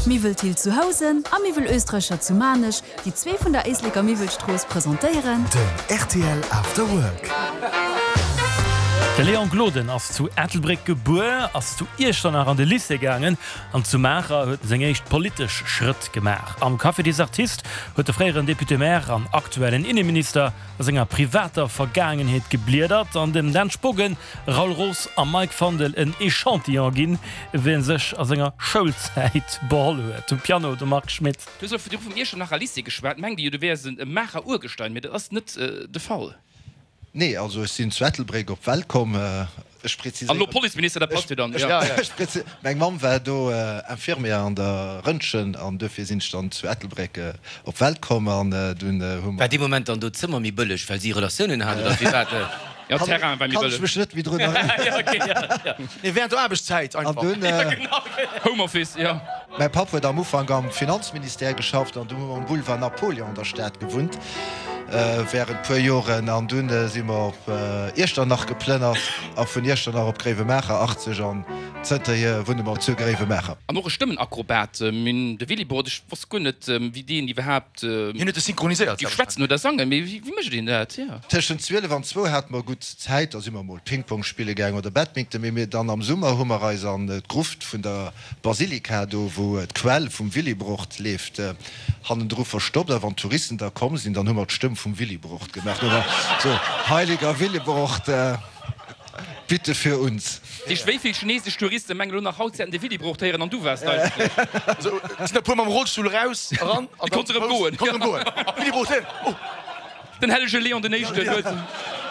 Miwwel Thill zu Housen a Miwwel Oesträcher zu Maarnech, déi zwee vun der Éisleker Miwwelstrooss, presentéieren. Den rtl After Work. De Léon Gloden ass zu Ettelbréck gebuer, ass zu Iechternach an de Lycée gaangen an zu Maacher huet en seng éischt politesch Schrëtt gemaach. Am Café des Artistes huet de fréieren Député-maire an aktuellen Inneminister a senger privater Vergaangenheet gebliedert an dem Dan Spogen, Raoul Roos a Mike Fandel en Echantillon ginn, wéi en sech a senger Schoulzäit beholl huet. Um Piano de Marc Schmitt. Du hues elo virdru vum Iechternacher Lycée geschwat. Mengt Dir jo, du wäers e Maacher Urgestein, mee dat ass net de Fall. Nee, also ech sinn zu Ettelbréck op d'Welt komm. Ech preziséieren. An elo Policeminister, dat passt jo dann, jo. Ech preziséieren, meng Mamm war do Infirmière an der Röntgen an duerfir sinn ech dann zu Ettelbréck op d'Welt komm an dunn hu mer. War dee Moment dann do d'Zëmmer méi bëlleg, well si Relatiounen hat oder firwat? Jo, Terrain war méi bëlleg. Kann ech mech net méi drun erënneren. Nee, während der Aarbechtszäit einfach. An dunn. Homeoffice, jo. Mäi Papp huet am Ufank am Finanzministère geschafft an du hu mer um Boulevard Napoléon an der Stad gewunnt während puer Joren an dunn si mer op Iechternach geplënnert a vun Iechternach op Gréiwemaacher 80 an zënterhier wunne mer zu Gréiwemaacher. An och e Stëmmenakrobat, de Willibrord, ech wosst guer net wéi deen iwwerhaapt Hien huet e synchroniséiert, géif schwätzen oder sangen, mee wéi mécht een dat? Jo. Tëschent 12 an zwou hate mer gutt Zäit, da si mer mol Ping-Pong spille gaang oder Badminton, mee mir dann am Summer hu mer eis an d'Gruft vun der D'Basilika, do wou d'Quell vum Willibrord leeft, hannendru verstoppt. A wann d'Touristen da komm sinn, dann hu mer d'Stëmm vum Willibrord gemaach. Do war so, Heiliger Willibrord, bitte für uns. Dich, wéi vill chinesesch Touristen mengen elo nach haut se hätten de Willibrord héieren an du waars et eigentlech? Also, et sinn der puer mam Rollstull eraus, eran an dann konnt erëm goen. Konnt erëm goen. Willibrord héieren, oh! Den hellege Leon den Éischten huet.